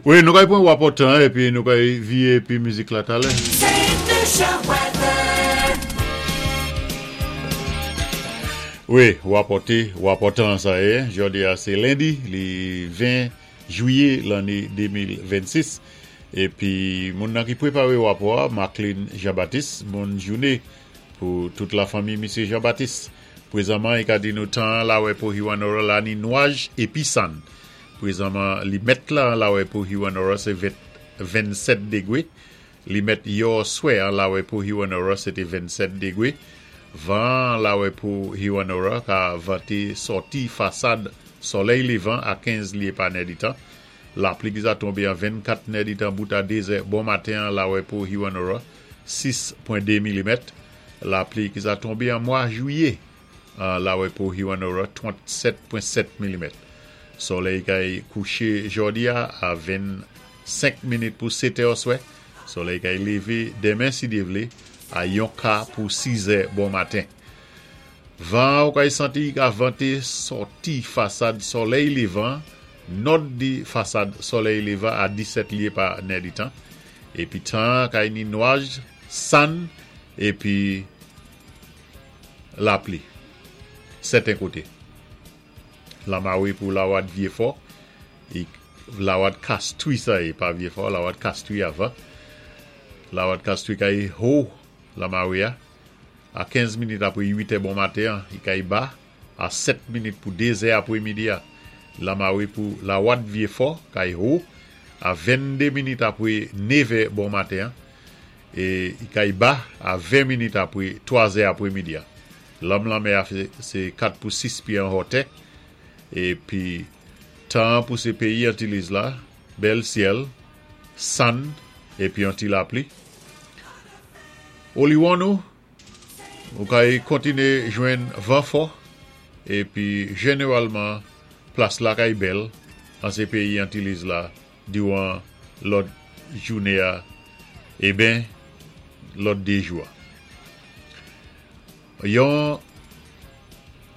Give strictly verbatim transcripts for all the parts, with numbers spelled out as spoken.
Wi, nou kay pwan rapò tan épi nou kay viwé épi mizik la talè. Saint Lucia weather. Wi, rapò té, rapò tan sa yé. Jòdi a sé lendi, li ven jwiyé lanné de mil vennsis. Épi moun nan ki pwéparé rapò a, Marklin Jean-Baptiste, bòn jouné pou tout la fanmi Misyé Jean-Baptiste. Pwézanman, i ka di nou tan lawè pou Hewanorra la ni nwaj épi sann. Pwézanman, limèt la lawè pou Hewanorra sé vennsèt dégwé. Limèt yò swè an lawè pou Hewanorra sé té vennsèt dégwé. Van lawè pou Hewanorra ka vanté sòti fasad solèy lévan a kenz lyé pa nèditan. Lapli ki za tonbé an vennkat nèditan bout a dézè bon maten lawè pou Hewanorra sis pwen de milimèt. Lapli ki za tonbé an mwa jwiyé lawè pou Hewanorra trannsèt pwen sèt milimèt. Solèy kay kouché jòdi a a vennsenk minit pou sèt è oswè. Solèy kay lévé denmen si Dye vlé a yon ka pou siz è bon maten. Van ou kay santi ka vanté sòti fasad solèy lévan, nò di fasad solèy lévan a disèt lyé pa nèditan. Épi tan kay ni nwaj, sann, épi lapli. Sèten koté. Lamawé pou Lawad Vyéfò, Lawad Kastwi sa yé, pa Vyéfò, Lawad Kastwi avan. Lawad Kastwi kay ho lamawé a, a kenz minit apwé uit è bon maten, i kay ba, a sèt minit pou dézè apwé midi a. Lamawé pou Lawad Vyéfò, kay ho, a venndé minit apwé nevè bon maten, é i kay ba a ven minit apwé twazè apwé midi a. Lanm lanmè a sé kat pou sis pyé an wotè, épi tan pou sé péyi Antiliz la, bèl syèl, sann, épi yon ti lapli. Oliwon nou, ou kay kontiné jwenn van fò, épi jénéwalman, plas la kay bèl, an sé péyi Antiliz la, diwan lòt jouné a, eben, lòt dé jou a. Yon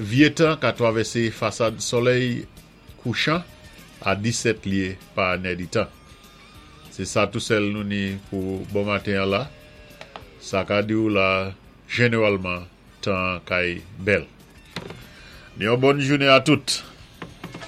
vyé tan ka twavèsé fasad solèy kouchan a disèt lyé pa nèditan. Sé sa tou sèl nou ni pou bon maten la. Sa ka di ou la, jénéwalman, tan kay bèl. Yon bòn jouné a tout.